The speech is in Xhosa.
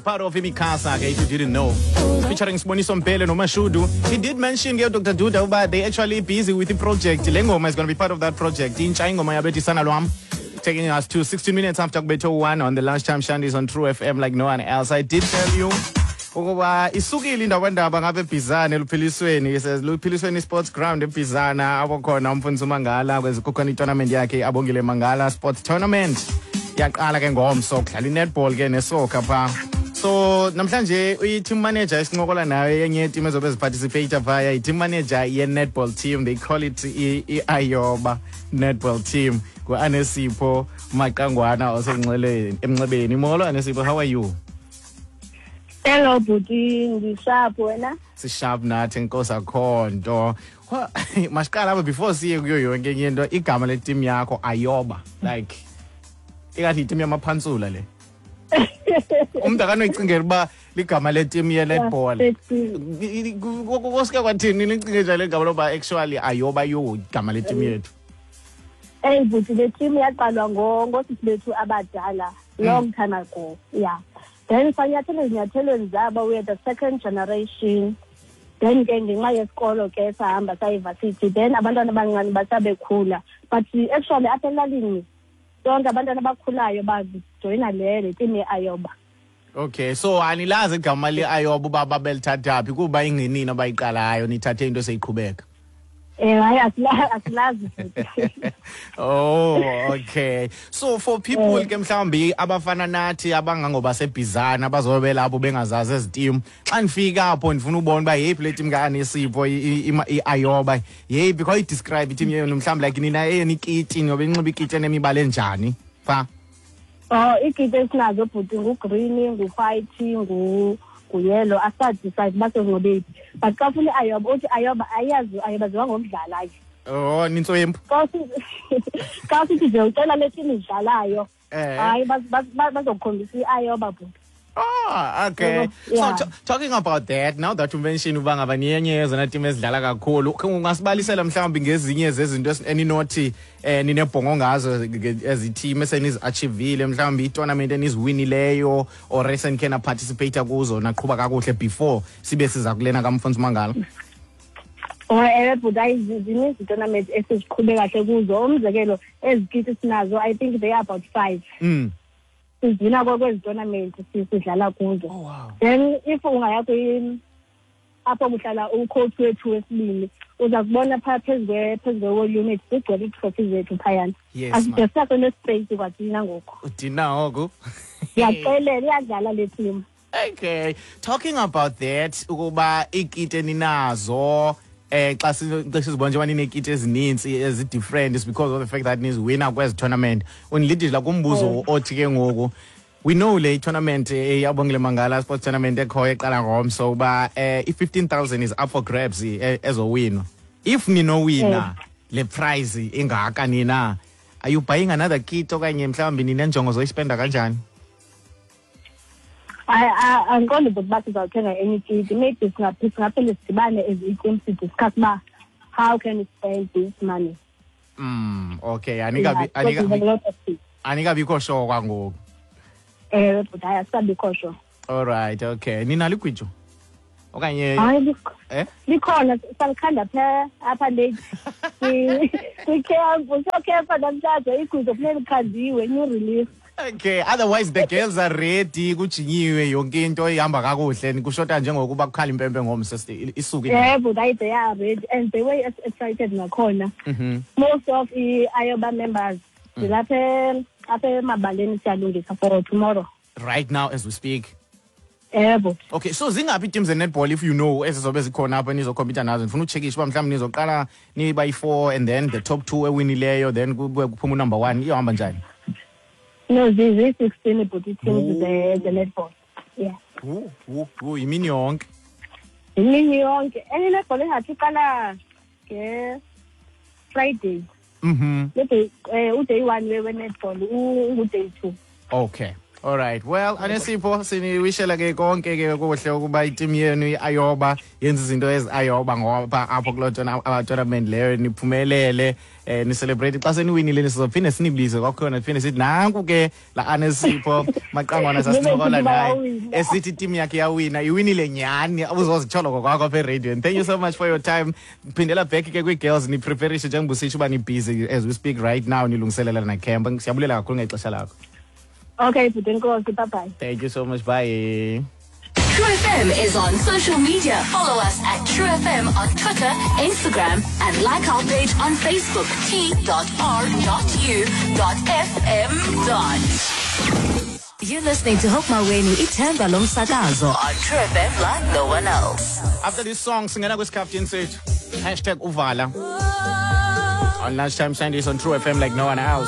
Part of Imikasa, ke, if you didn't know. Featuring Siboniso Mbele noMashudu. He did mention ke Dr. Duda uba they actually busy with the project. Le ngoma is going to be part of that project. Intsha ingoma yabethi sana lwam. Taking us to 16 minutes after kubetho 1 on the lunchtime shandies on True FM like no one else. I did tell you ukuba isukile indaba ngapha eBhizana eluphilisweni luphilisweni Sports Ground eBhizana apho khona umfundisi uMangala kukhona itournament yakhe Abongile Mangala Sports Tournament yaqala ke ngomso kudlala inetball ke nesoccer pha. So namhlanje i-team manager esincokola nayo yenye yeteam ezobe ziparticipate phaya, i-team manager ye-netball team, they call it i-Ayoba netball team, ngu-Anesipho Maqangwana osenxeleni emnxebeni. Molo Anesipho, how are you? Hello bhuti, ndisharp, wena? Sisharp nathi, enkosi, akho nto. Masiqala apha before siye kuyo yonke enye into. Igama leteam yakho Ayoba, like ingathi yiteam yamaphantsula le. Umntu akanoyicingela uba ligama leteam ye-netball. Kosuke kwathini nicinge njalo igama loba actually Ayoba yo igama leteam yethu? Eyi bhuti, le team yaqalwa ngoosisi bethu abadala long time ago, yeah. Then sanyathela ezinyathelweni zabo, we are the second generation. Then ke ngenxa yesikolo ke sahamba sayivasithi, then abantwana abancane basabekhula, but actually apha elalini sonke abantwana abakhulayo bajoyina le team ye-Ayoba. Okay, so anilazi igama le-Ayoba uba babelithatha phi, kuba ingenini abayiqalayo nithathe into seyiqhubeka? Hayi, asilazi. Oh, okay. So for people ke mhlawumbi abafana nathi abangangoba sebhizana abazobe lapho bengazazi ezi team, xa ndifika apho ndifuna ubona uba yeyiphi le team kaAnesipho i-Ayoba, yeyiphi? Khawuyidescribe iteam yenu mhlawumbi, like nina eyenu ikiti noba inxiba ikiti enemibala enjani pha? Oh, iikiti esinazo bhuti ngu-green, ngu-white, nguyellow, asadecide uba sezinxibe yiphi. But xa ufuna i-Ayoba, uthi Ayoba, ayazi Ayoba ziwa ngokudlala ke. Oh, nintswempu. Xa sithi nje ucela le team idlalayo, hayi, bazokukhombisa i-Ayoba bhuti. Ah, okay. So talking about that, now that you mention uba ngaba niyenye yezona team ezidlala kakhulu, ungasibalisela mhlawumbi ngezinye zezinto eninothi ninebhongo ngazo ezi team esenizi-achievile, mhlawumbi i-tournament eniziwinileyo or esenikhe naparticipate kuzo naqhuba kakuhle before sibe siza kulena kamfundisi Mangala? Oh, ewe bhuti, hayi, zininzi itournament esiziqhube kahle kuzo. Umzekelo, ezi kiti sinazo, I think they are about 5. Sizina kwezi tournament sidlala kuzo. Oh, wow. Then if ungaya apho kuhlala ucoach wethu wesibini, uza kubona phaa phezu kwe-wall unit kugcwele iitrophy zethu phayana. Yes, ma'am. Aside sakho nespace kwathina ngoku. Udina oku. Ndiyaxelela, iyadlala le team. Okay, talking about that, ukuba iikiti eninazo, xa sizibona njengoba nineekiti ezininzi ezi-different is because of the fact that niziwina kwezi tournament. Undilidila kumbuzo othi ke ngoku, we know le tournament Abongile Mangala Sports Tournament ekhoyo eqala ngomso uba i-15,000 is up for grabs, ezowinwa. If ninowina le prize ingaka nina, are you buying another kit okanye mhlawumbi ninenjongo zoyispenda kanjani? Andiqondi bhuti uba sizawuthenga enye ikiti. Maybe singaphinde sidibane as iteam sidiscuss uba how can we spend this money. Okay, anikabi Yeah, because we have a lot of things. Anikabikho sure kwangoku. Ewe bhuti, hayi, asikabikho sure. All right, okay. Ninalo igwijo okanye? Hayi, Eh? likhona, salikhanda phaa apha late kwicamp. Siyocampa namhlanje, igwijo funeka likhandiwe, new release. Okay, otherwise the girls are ready, kujinyiwe, yonke into ihamba kakuhle, kushota njengokuba kukhala impempe ngomso isuke. Yebo, they are ready and they were excited nakhona. Most of i-Ayoba members silapha apha emabaleni, siyalungisa for tomorrow. Right now as we speak? Yebo. Okay, so zingaphi ii-teams ze-netball, if you know, ezizobe zikhona apha nizocompeta nazo? Ndifuna utshekisha uba mhlawumbi nizoqala niba yi-four and then the top two ewinileyo, then kube kuphuma unumber one, iyohamba njani? No, ziyi-16 bhuti teams ze-netball, yeah. Wu, wu, wu, yimini yonke. Imini yonke. Enye i-netball engathi iqala nge-Friday. Le day, uday one we-netball ungu-day 2. Okay. All right. Well, Anesipho, siniwishela ke konke ke kuhle ukuba iteam yenu iAyoba yenza izinto eziayoba ngoba apho kuloo tournament leyo niphumelele, ni-celebrate xa seniwinile. Sizophinde sinibize kwakhona, siphinde sithi nanku ke la Anesipho Maqangwana sasincokola naye esithi iteam yakhe yawina, iwinile nyhani, uzozitsho ngokwakho apha eradio. And thank you so much for your time. Phindela back ke kwii-girls, nipreparishe njengoba usitsho uba nibusy as we speak right now, nilungiselela necamp. Siyabulela kakhulu ngexesha lakho. Okay bhuti, enkosi, bye bye. Thank you so much, bye. True FM is on social media. Follow us at True FM on Twitter, Instagram, and like our page on Facebook, t.r.u.fm. You're listening to Hope Maweni, Ithemba Lomsakazo on True FM like no one else. After this song, singena kwisikhaftini sethu, #uvala on Lunchtime Sundays on True FM like no one else.